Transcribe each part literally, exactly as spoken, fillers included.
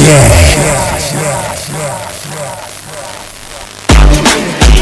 Káàṣì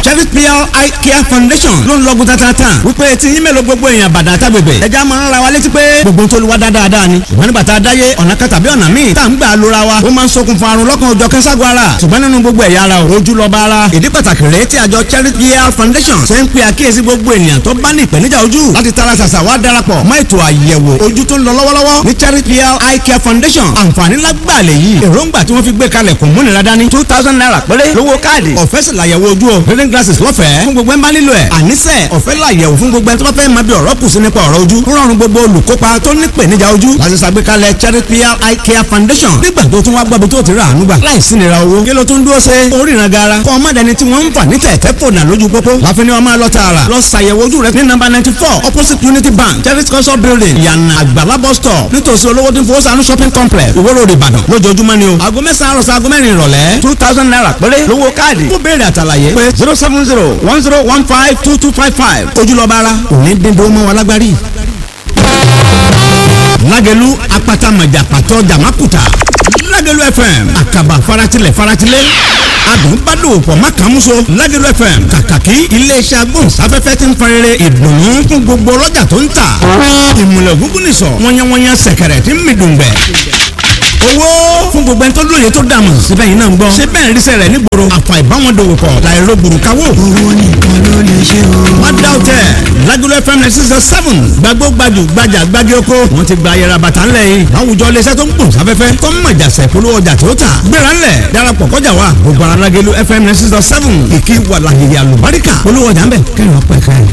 Cherry P L Eye Care Foundation ló ń lọ́gùn tatata wípé tí yín mélòó gbogbo èèyàn bàdà tágbègbè ẹja máa ń ra wa létí pé gbogbo tó lu wa dáadáa ni. Ṣùgbọ́n nígbà tá a dáyé, ọ̀nà kan tàbí ọ̀nà míì tá à ń gbà lóra wa, ó máa ń ṣokùnfà àrùn lọ́kàn òjọ̀ kẹ́sàgọ́ ara. Ṣùgbọ́n nínú gbogbo ẹ̀yà ara, ojú lọ́ba ara. Ìdí pàtàkì rèé tí àjọ Cherry P L Foundation ṣe ń pe àkíyèsí gbogbo ènìyàn tó bá ní ìpèníjà ojú láti tara ṣàṣà wá darapọ̀ mọ́ ètò àyẹ̀wò ojú tó ń lọ lọ́wọ́lọ́wọ́ ní Cherry P L Eye Care Foundation. Àǹfààní lágbàlẹ̀ yìí, èròǹgbà tí wọ́n fi gbé kalẹ̀ kò múnira dání. Two thousand naira péré lówó káàdì. Ọ̀fẹ́ sì làyẹ̀wò ojú o. Reading glasses lọ́fẹ̀ẹ́ fún gbogbo ẹ̀ ń bá nílò ẹ̀. Àníṣe ọ̀fẹ́ làyẹ̀wò fún gbogbo ẹ̀ tó bá fẹ́ máa bí ọ̀rọ̀ kù sí nípa ọ̀rọ̀ ojú. Rọrùn gbogbo olùkópa tó ní ìpèníjà ojú láti ṣàgbékalẹ̀ Cherry P L Eye Care Foundation. Nígbà tó tún wá gbọ́ bí tó ti rà àánú gbà láìsí nira owó, kí ló tún dúró ṣe oríran gara? Kọ́ ọmọdéni tí wọ́n ń fà ní tẹ̀tẹ̀ fònà lójú pópó láfi ni wọ́n máa lọ tààrà lọ ṣàyẹ̀wò ojú rẹ ní nọ́mbà ninety four, opposite Unity Bank, Cherry Culture Building, Yànnà Àgbàlá bus stop, nítòsí olówó tí ń fowó sànú shopping complex, Ìwó Road, Ìbàdàn, lójoojúmọ́ ni o. Aago mẹ́sàn-án àròsọ aago mẹ́rin ìrọ̀lẹ́. Two thousand naira péré lówó káàdì. Fún béèrè àtàlàyé, pé zero seven zero one zero one five two two five five. Ojúlọ́ba ara òní dín dó mọ́ wọn lágbárí. Lágẹ̀lú apata mọ̀jà pàtó jàmákùtà, Lágẹ̀lú F M, àkàbà faratilẹ̀ faratilẹ̀, adùn bá dòwò pọ̀ má kàn múso. Lágẹ̀lú F M, kàkàkí iléeṣẹ́ agbóhùnsáfẹ́fẹ́ ti ń fọrẹ́rẹ́ ìdùnnú fún gbogbo ọlọ́jà tó ń tà. Ìmùlẹ̀ ògúngún nìsọ̀ wọ́nyẹ́wọ́nyẹ́, sẹ̀kẹ̀rẹ̀ tí ń mi dùngbẹ̀ owó fún gbogbo ẹni tó lóye tó dààmú. Síbẹ̀ yìí náà ń gbọ́ síbẹ̀ ń ríṣẹ́ rẹ̀ nígboro, àfà ìbáwọn dòwò pọ̀ láìro gbòrúkawó. Owó nìkan ló lè ṣe o. Má dá o tẹ̀, Lágolo F M ninety six point seven, gbàgbó gbajù gbajà gbági oko. Wọ́n ti gba ayẹra bàtà ńlẹ̀ yìí láwùjọ iléeṣẹ́ tó ń gbòǹ sáfẹ́fẹ́, tó ń mọ̀jà sẹ̀ polówó ọjà tó tà. Gbéra ńlẹ̀, darapọ̀ kọjá wa gbogbo ara. Lágolo F M ninety six point seven, ìkí wàlàyé àlùbáríkà, polówó ọjà ńbẹ kẹrin ọpẹ kẹrin.